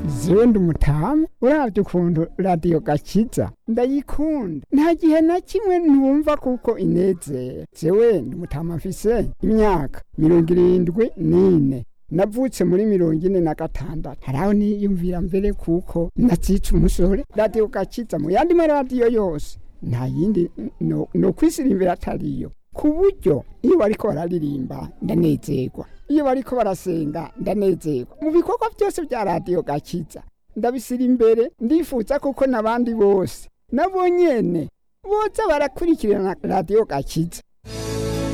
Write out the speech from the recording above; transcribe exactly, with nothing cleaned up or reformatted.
Zewe ndi umutamu, uravye ukuntu Radiyo Gakiza ndayikunda, nta gihe na kimwe ntumva kuko inezera. Zewe ndi umutamu, mfise imyaka mirongo irindwi n'ine, navutse muri mirongo ine na gatandatu. Haraho niyumvira mbere kuko natsitse umusore. Radiyo Gakiza mu yandi maradiyo yose nta yindi no, no kwisirimbira atariyo, ku buryo iyo bariko bararirimba ndanezerwa, iyo bariko barasenga ndanezerwa. Mu bikorwa byose bya Radiyo Gakiza ndabisira imbere. Ndifuza kuko n'abandi bose nabo nyene boza barakurikirana Radiyo Gakiza.